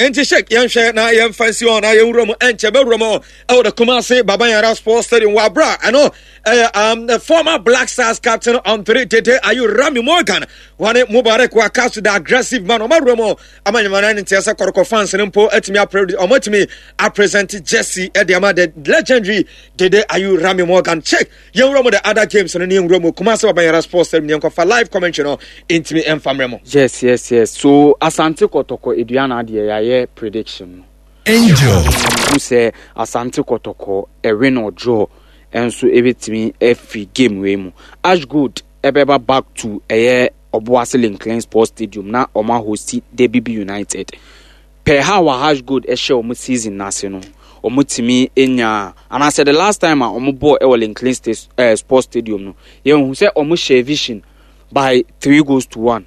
Enti Sheikh, yɛnhwɛ na yɛmfa nsi hɔ na yɛnwura mu ɛnkyɛ bɛwura mu ɛwɔ the Kumasi Baba Yara Sports Stadium wɔ abira ɛno ɛyɛ the former Black Stars captain Andre Dede Ayew, Rami Morgan wɔne Mubarak Wakaso, the aggressive man, ɔmo awura mu ama nyamana ne nteɛ sɛ kɔrɔkɔ fans no mpo atumi apre ɔmo atumi apresent jersey ɛde ama the legendary Dede Ayew, Rami Morgan. Sheikh, yɛnwura mu the other games no ne yɛnwura mu Kumasi Baba Yara Sports Stadium ne yɛnkɔfa live commentary no ntumi ɛmfa mmerɛ mu. Yes. So Asante Kɔtɔkɔ Aduana deɛ, yɛayɛ prediction no. Angel. Hu sɛ Asante Kɔtɔkɔ a win or draw nso ebetumi afiri game wei mu. Ash Gold ɛbɛba back to ɛyɛ Ɔboase Lincoln Sports Stadium na ɔmo ahosti Debibi United. Per how a Ash Gold ɛhyɛ ɔmo season n'ase no, ɔmo tumi nya anaasɛ the last time a ɔmo bɔɔ ɛwɔ Lincoln Sports Stadium no, yɛn hu sɛ ɔmo hyɛ Vision by 3 goals to 1.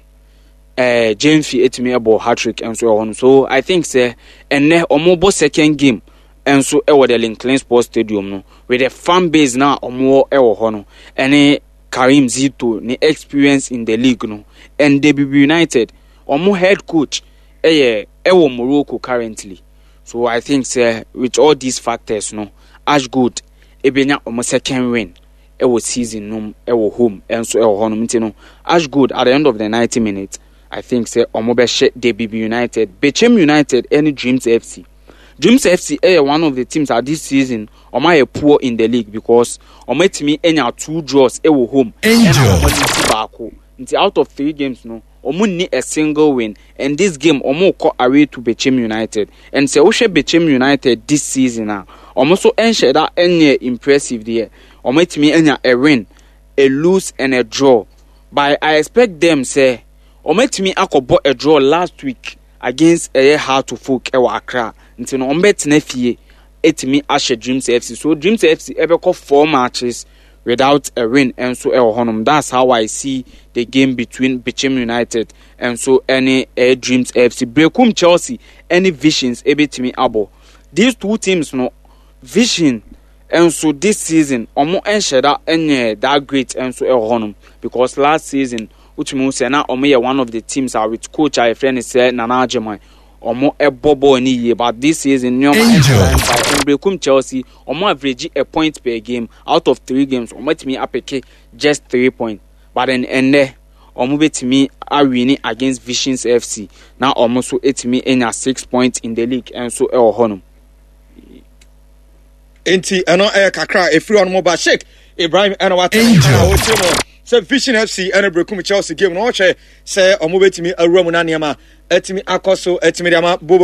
Jemfi etumi ɛbɔ hat-trick nso ɛwɔ no, so I think sɛ ɛnɛ ɔmo bɔ second game nso ɛwɔ the Lincoln Sports Stadium no, with the fan base na ɔmo wɔ ɛwɔ hɔ no, ɛne Karim Zito ne experience in the league no, and Debibi United ɔmo head coach ɛyɛ ɛwɔ Morocco currently. So I think sɛ with all these factors no, Ash Gold ebenya ɔmo second win ɛwɔ season no mu ɛwɔ home ɛnso ɛwɔ hɔnom. Nti no, Ash Gold, at the end of the 90 minutes, I think sɛ ɔmo bɛhyɛ Debibi United. Bechem United ɛne Dreams FC. Dreams FC ɛyɛ one of the teams at this season ɔmo ayɛ poor in the league because ɔmo atumi anya two draws ɛwɔ home ɛna ɔmo lose baako. Nti out of three games no, ɔmo nni a single win, and this game ɔmo kɔ away to Bechem United. And sɛ wohwɛ Bechem United this season a, ɔmo nso nhyɛ da nyɛ impressive deɛ. Ɔmo atumi anya a win, a lose and a draw, but I expect them sɛ ɔmo atumi akɔbɔ a draw last week against ɛyɛ Hearts of Oak ɛwɔ Accra. Nti no, ɔmo bɛtena fie etumi ahyɛ Dreams FC. So Dreams FC ɛbɛkɔ four matches without a win nso ɛwɔ hɔnom. That's how I see the game between Bechem United nso ɛne ɛyɛ Dreams FC. Berekum Chelsea ɛne Visions ɛbɛtumi abɔ. These two teams no, Vision nso this season ɔmo nhyɛ da nyɛ that great nso ɛwɔ hɔnom because last season wotumi hu sɛ na ɔmo yɛ one of the teams a with coach a yɛfrɛ no sɛ Nana Agyeman, ɔmo ɛbɔ bɔɔl ne yie, but this season nneɛma ɛnhyɛ da mfa. Berekum Chelsea, ɔmo average a point per game. Out of three games, ɔmo atumi apick just 3 points, but then ɛnnɛ ɔmo bɛtumi awin against Visions FC na ɔmo nso etumi anya 6 points in the league nso ɛwɔ hɔnom. Nti ɛno ɛyɛ kakra a ɛfiri ɔno ba Sheikh Ibrahim ɛna wate na wɔkyerɛ mu sɛ Vision FC ɛne Brekum Chelsea game no, ɔhwɛ sɛ ɔmo bɛtumi awura mu na nneɛma atumi akɔ so atumi de ama bobo.